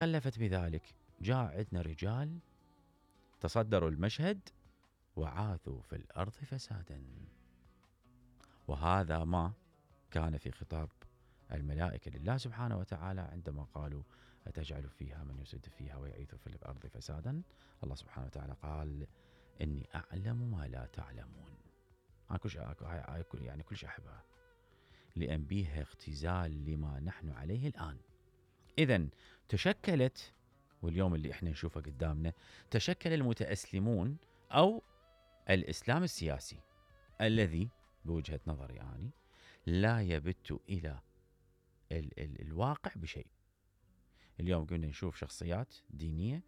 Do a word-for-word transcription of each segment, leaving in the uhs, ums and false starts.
خلفت بذلك جاء عندنا رجال تصدروا المشهد وعاثوا في الأرض فسادا. وهذا ما كان في خطاب الملائكة لله سبحانه وتعالى عندما قالوا أتجعل فيها من يفسد فيها ويعيث في الأرض فسادا. الله سبحانه وتعالى قال إني أعلم ما لا تعلمون. يعني كل شيء أحبها لأن بيها اختزال لما نحن عليه الآن. إذن تشكلت، واليوم اللي احنا نشوفه قدامنا، تشكل المتأسلمون أو الإسلام السياسي الذي بوجهة نظري يعني لا يبت إلى ال ال الواقع بشيء. اليوم قلنا نشوف شخصيات دينية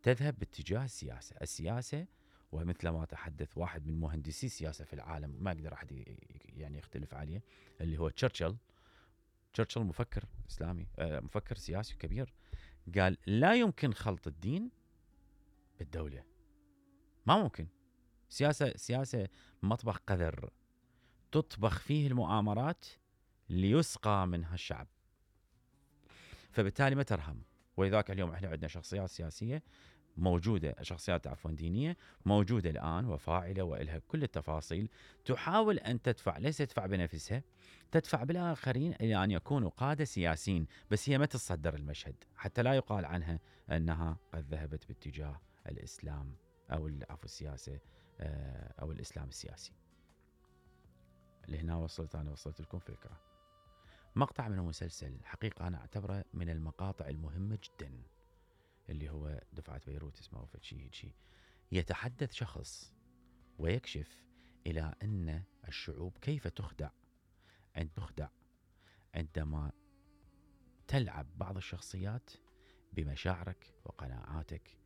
تذهب باتجاه السياسة السياسة ومثل ما تحدث واحد من مهندسي السياسة في العالم ما أقدر أحد يعني يختلف عليه، اللي هو تشرشل. تشرشل مفكر إسلامي، مفكر سياسي كبير، قال لا يمكن خلط الدين بالدولة، ما ممكن. سياسة سياسة مطبخ قذر تطبخ فيه المؤامرات ليسقى منها الشعب، فبالتالي ما ترهم. ولذلك اليوم احنا عندنا شخصيات سياسية موجودة، شخصيات عفوا دينية موجودة الآن وفاعلة وإلها كل التفاصيل، تحاول أن تدفع، ليس تدفع بنفسها، تدفع بالآخرين إلى أن يكونوا قادة سياسيين، بس هي ما تتصدر المشهد حتى لا يقال عنها أنها قد ذهبت باتجاه الإسلام أو عفوا السياسة أو الإسلام السياسي. لهنا وصلت أنا وصلت لكم فكرة. مقطع من المسلسل حقيقة أنا أعتبره من المقاطع المهمة جدا، اللي هو دفعة بيروت اسمه فتشي هيجي. يتحدث شخص ويكشف إلى أن الشعوب كيف تخدع أن تخدع عندما تلعب بعض الشخصيات بمشاعرك وقناعاتك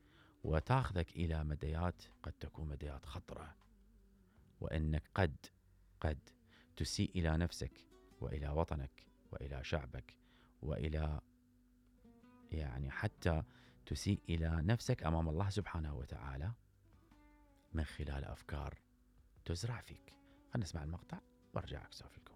وتاخذك إلى مديات قد تكون مديات خطرة، وأنك قد قد تسيء إلى نفسك وإلى وطنك وإلى شعبك وإلى يعني حتى تسيء إلى نفسك أمام الله سبحانه وتعالى من خلال أفكار تزرع فيك. خلنا نسمع المقطع وارجع أكسف لكم.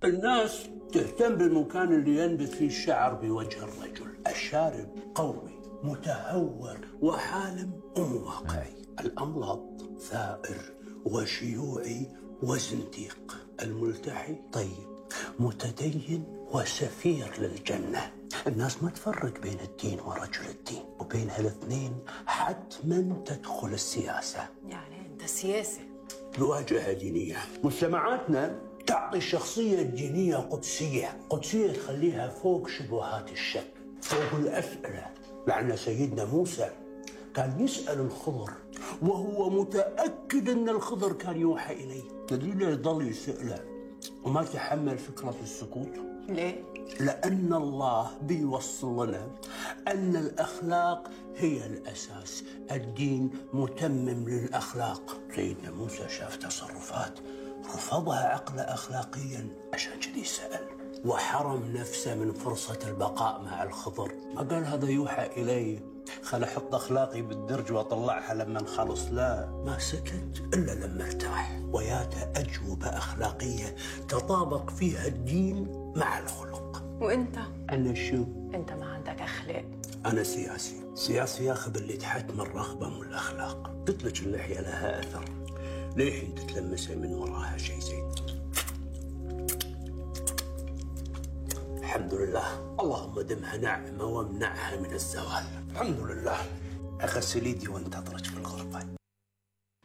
الناس تهتم بالمكان اللي ينبت فيه الشعر بوجه الرجل. الشارب قوي متهور وحالم ومواقعي. الأملط ثائر وشيوعي وزنديق. الملتحي طيب متدين وسفير للجنة. الناس ما تفرق بين الدين ورجل الدين، وبين هالاثنين حتما تدخل السياسة. يعني انت سياسي بواجهة دينية. مجتمعاتنا تعطي الشخصية الدينية قدسية، قدسية تخليها فوق شبهات الشك، فوق الأسئلة. لأن سيدنا موسى كان يسأل الخضر وهو متأكد أن الخضر كان يوحى إليه. تدري ليه ضل يسأله وما تحمل فكرة السكوت؟ ليه؟ لأن الله بيوصل لنا أن الأخلاق هي الأساس، الدين متمم للأخلاق. سيدنا موسى شاف تصرفات رفضها عقله أخلاقيا، عشان كذي سأل وحرم نفسه من فرصة البقاء مع الخضر. ما قال هذا يوحى إلي خل أحط أخلاقي بالدرج وأطلعها لما نخلص، لا، ما سكت إلا لما ارتاح. وياته أجوبة أخلاقية تطابق فيها الدين مع الخلق. وأنت؟ أنا شو؟ أنت ما عندك أخلاق. أنا سياسي، سياسي ياخذ اللي تحت من الرغبة من الأخلاق. قلت لك اللحية لها أثر، للحين تتلمسها من وراها شيء زين. الحمد لله، اللهم دمها نعمة وامنعها من الزوال. الحمد لله. أغسل يدي وانتظرك في الغرفة.